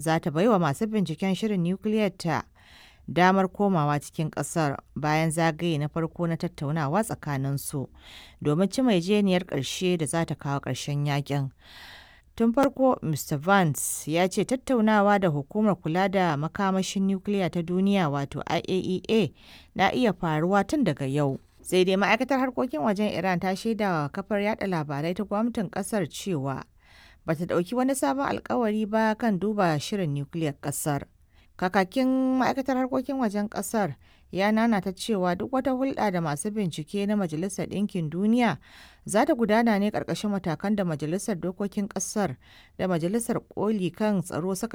za ta baiwa masu binciken shirin nukiliyar ta damar komawa cikin kasar bayan zagaye na farko na tattaunawa tsakaninsu domin cimma yarjejeniyar ƙarshe da za ta kawo ƙarshen yakin. Tun farko, Mr. Vance ya ce tattaunawa da hukumar kula da makamashin nukiliya ta duniya wato IAEA na iya faruwa tun daga yau. Sai dai ma'aikatar harkokin wajen Iran ta shaidawa kafar yada labarai ta gwamnatin kasar cewa bata dauki wani sabon alkawari ba kan duba shirin nukiliyar kasar. Kakakin ma'aikatar harkokin wajen kasar ya nanata cewa duk wata hulɗa da masu bincike na Majalisar Ɗinkin Duniya za ta gudana ne ƙarƙashin matakan da Majalisar Dokokin ƙasar da Majalisar Koli kan Tsaro suka